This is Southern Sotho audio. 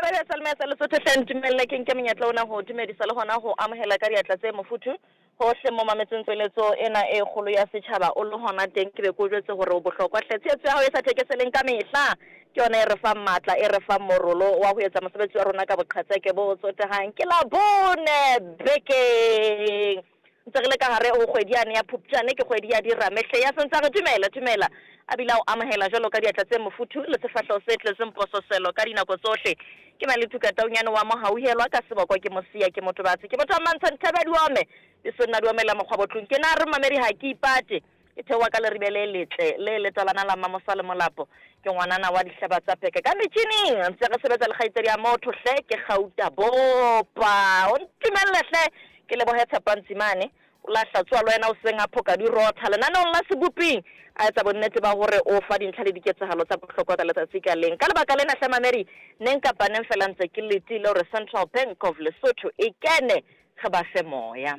Taba e sa Lesotho hle ntumelle ke nke monyetla ona ho dumedisa le hona ho amohela ka diatla tse mofuthu hohle mo mametseng tsweletso ena e kgolo ya setjhaba o le hona teng ke be ke o jwetse hore o bohlokwa hle tshehetso ya hao e sa thekeseleng ka mehla ke yona e re fang matla e re fang morolo wa ho etsa mosebetsi wa rona ka boqhetseke bo tsotehang ke Labone bekeng. Ntse re le ka gare ho kgwedi yane ya Phupjane, ke kgwedi ya dirame hle. Ya sentse a re dumela, dumela, a bile a o amohela jwalo ka diatla tse mofuthu le sefahleho se tletseng pososelo ka dinako tsohle. Ke Malethuka Taunyane wa Mohauhelwa, ka seboko ke Mosia, ke Motobatsi, ke motho wa Mmantsha Nthebe Diome, le Sonna Diome la Mokgwabotlung. Ke na re mmamedi ha ke ipate. Ke theoha ka leribe le letle le letalana la Mmamosa le Molapo. Ke ngwanana wa dihlaba tsa peke ka metjhining. Ntse re sebetsa le kgaitsedi ya motho hle, ke Gauta Bopa. O ntumelle hle ke lebohe Tshepo Ntsimane. O la hlatsoa le wena hoseng a phoka di rotha lenaneong la Seboping, a etsa bonnete ba hore o fa dintlha le diketsahalo tsa bohlokwa ka letsatsi ka leng. Ka lebaka lena hle mamedi, neng kapa neng feela ntse ke letile hore Central Bank of Lesotho e kene re ba fe moya.